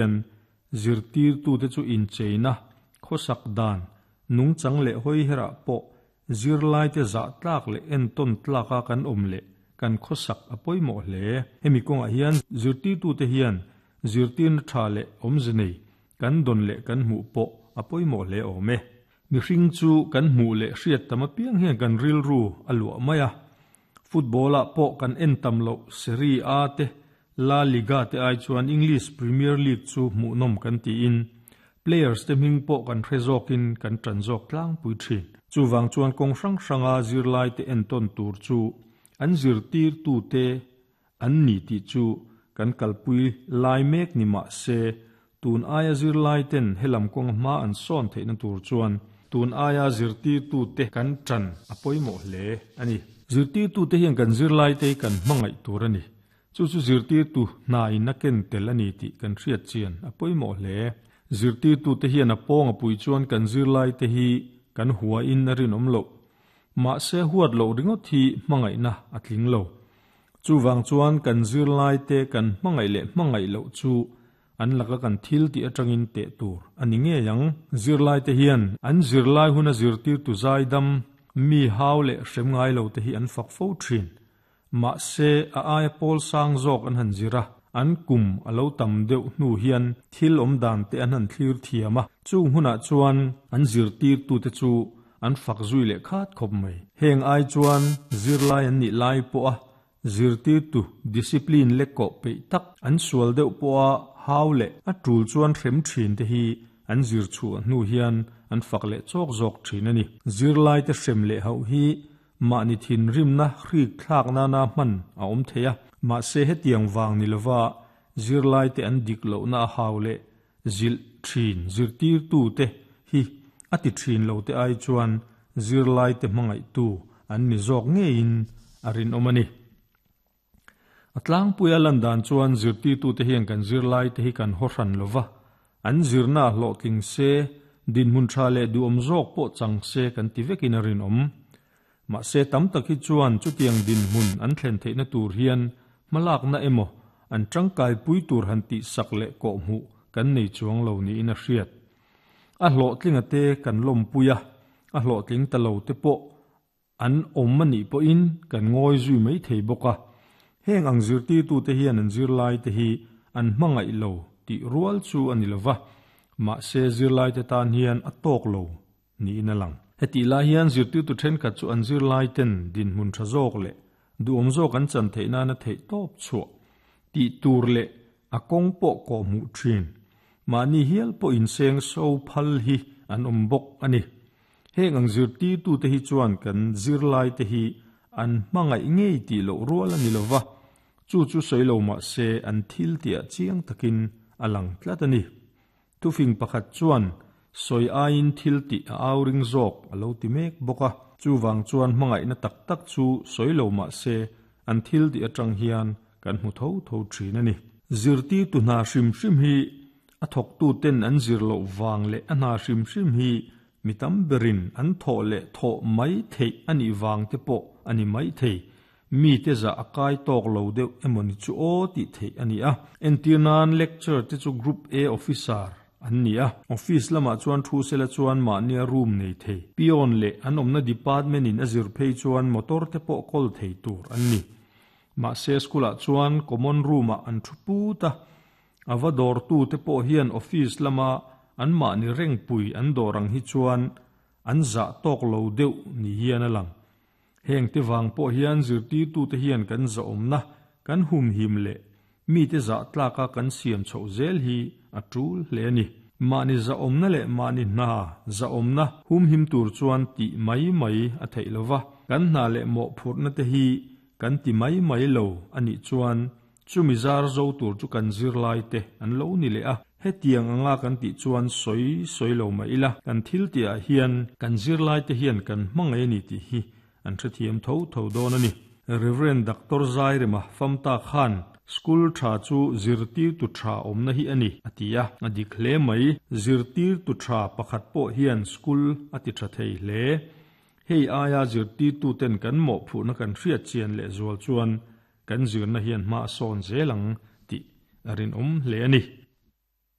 Hian zirtirtute chu incheina, khawsak dan, nungchang leh hawiherah pawh zirlaite zah tlak leh entawn tlaka kan awm leh kan khawsak a pawimawh hle. Hemi kawngah hian zirtirtute hian zirtirna tha leh awmze nei kan dawn leh kan hmuh pawh a pawimawh hle awm e. Mihring chu kan hmuh leh hriat tam apiang hian kan rilru a luah mai a. Football-ah pawh kan en tam loh Serie A te, La Liga te ai chuan English Premier League chu hmuhnawm kan tiin players te hming pawh kan hre zawkin kan tan zawk tlangpui thin. Chuvang chuan kawng hrang hranga zirlaite entawn tur chu an zirtirtute an ni tih chu kan kalpui lai mek ni mah se, tun aia zirlaiten helam kawng hma an sawn theihna tur chuan tun aia zirtirtute kan tan a pawimawh hle a ni. Zirtirtute hian kan zirlaite hi kan hmangaih tur a ni. Chu chu zirtirtu hna in a ken tel a ni tih kan hriat chian a pawimawh hle. Zirtirtute hian a pawng a pui chuan kan zirlaite hi kan huain a rinawm loh. Mahse huat loh ringawt hi hmangaihna a tling lo. Chuvang chuan kan zirlaite kan hmangaih leh hmangaih loh chu an laka kan thil tih atangin teh tur a ni ngei ang. Zirlaite hian an zirlai huna zirtirtu zaidam, mi hau leh hrem ngai lo te hi an fak fo thin. Mahse a aia pawl sang zawk an han zir a, an kum a lo tam deuh hnu hian thil awm dan te an han thlir thiam a, chung hunah chuan an zirtirtute chu an fak zui leh khat khawp mai. Heng ai chuan zirlai an nih lai pawha zirtirtu discipline lek kawh peih tak an sual deuh pawha hau leh a tul chuan hrem thin te hi an zir chhuah hnu hian an fak leh chawk zawk thin a ni. Zirlaite hrem leh hauh hi mahni thinrimna hrik thlak nana hman a awm thei a, mahse hetiang vang ni lova zirlaite an dik lohna a hau leh Zilh thin zirtirtute hi a ti thin lo te ai chuan zirlaite hmangaihtu an ni zawk ngeiin a rinawm a ni. A tlangpuia lan dan chuan zirtirtute hian kan zirlaite hi kan haw hran lo va, an zirna a hlawhtling se, dinhmun tha leh duhawm zawk pawh chang se kan ti vekin a rinawm. Mahse tam tak hi chuan chutiang dinhmun an thlen theihna tur hian hmalakna emaw an tangkaipui tur han tihsak leh kawhhmuh kan nei chuang lo niin a hriat. A hlawhtlinga te kan lawmpui a, a hlawhtling ta lo te pawh an awm a nih pawhin kan ngawi zui mai thei bawk a. Heng ang zirtirtute hian an zirlaite hi an hmangaih lo tih rual chu a ni lova, mahse zirlaite tan hian a tawk lo niin a lang. Hetih lai hian zirtirtu thenkhat chu an zirlaiten dinhmun tha zawk leh duhawm zawk an chan theih nana theih tawp chhuah tih tur leh a kawng pawh kawh hmuh thin. Mahni hial pawh inseng so phal hi an awm bawk a ni. Heng ang zirtirtute hi chuan kan zirlaite hi an hmangaih ngei tih loh rual a ni lo va, chu chu sawi lo mah se an thil tihah chiang takin a lang tlat a ni. Thufing pakhat chuan sawi aiin thil tih a au ring zawk a lo ti mek bawk a, chuvang chuan hmangaihna tak tak chu sawi lo mah se an thil tih atang hian kan hmu tho tho thin a ni. Zirtirtu hna hrim hrim hi a thawktuten an zir loh vang leh a hna hrim hrim hi mi tam berin an thawh leh thawh mai theih a nih vang te pawh a ni mai thei. Mite zah a kai tawk lo deuh emaw ni chu aw tih theih a ni a. Entir nan lecture te chu Group A officer an ni a. Office lamah chuan thu sela chuan mahnia room nei thei. Peon leh an awmna department in a zir phei chuan motor te pawh kawl thei tur an ni. Mahse school ah chuan common room ah an thu put a. A va dawrtu te pawh hian office lama an mahni rengpui an dawr ang hi chuan an zah tawk lo deuh ni hian a lang. Heng te vang pawh hian zirtirtute hian kan zahawmna kan humhim leh mite zah tlaka kan siam chhoh zel hi a tul hle a ni. Mahni zahawmna leh mahni hna zahawmna humhim tur chuan tih mai mai a theih lo va, kan hna leh mawhphurhna te hi kan ti mai mai lo a nih chuan Chumi zar zo tur chu kan zirlai te an lo ni leh a, hetiang anga kan tih chuan sawi sawi lo mah ila, kan thil tihah hian kan zirlai te hian kan hmangaih a ni tih hi an hrethiam tho tho dawn a ni. Rev. Doctor Zairema Famta khan School tha chu zirtirtu tha awmna hi a ni, a ti a, a dik hle mai. Zirtirtu tha pakhat pawh hian school a ti tha thei hle. Hei aia zirtirtuten kan mawhphurhna kan hriat chian lehzual chuan Kan zirna hian hma a sawn zel ang tih a rinawm hle a ni.